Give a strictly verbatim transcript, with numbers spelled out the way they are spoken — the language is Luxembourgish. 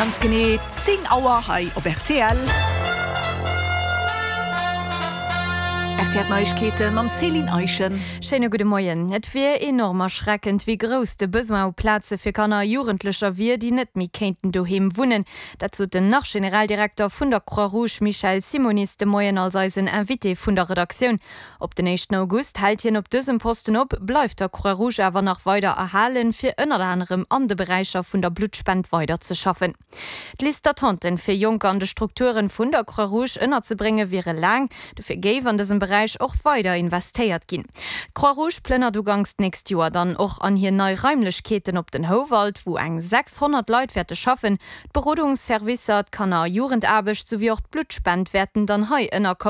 Ganz genee zéng Auer hei op rtl. Rtl Neiegkeete mam Céline Eischen. Schéine gudde Moien. Et wier enorm erschreckend, wéi grouss de Besoin u Plaze fir Kanner a Jugendlecher wier, déi net méi kéinten doheem wunnen. Dat sot den Nach-Generaldirekter vun der Croix-Rouge Michel Simonis de Moien als eisen Invité vun der Redaktioun. Op den éischten August hält hien op dësem Posten op, bleift der Croix-Rouge awer nach weider erhalen, fir ënnert anerem an de Beräicher vun der Bluttspend weider ze schaffen. D'Liste d'attenten, fir Jonker an de Strukturen vun der Croix-Rouge ënnerzebréngen, wiere laang. Dofir géif an dësem Beräich och weider investéiert ginn. D'Croix-Rouge plënnert uganks d'nächst Joer dann och an hir nei Raimlechkeeten op den Houwald, wou eng sechshonnert Leit wäerte schaffen. D'Berodungsservicer, d'Kanner a Jugendaarbecht souwéi och d'Bluttspend wäerten dann hei ënnerkommen.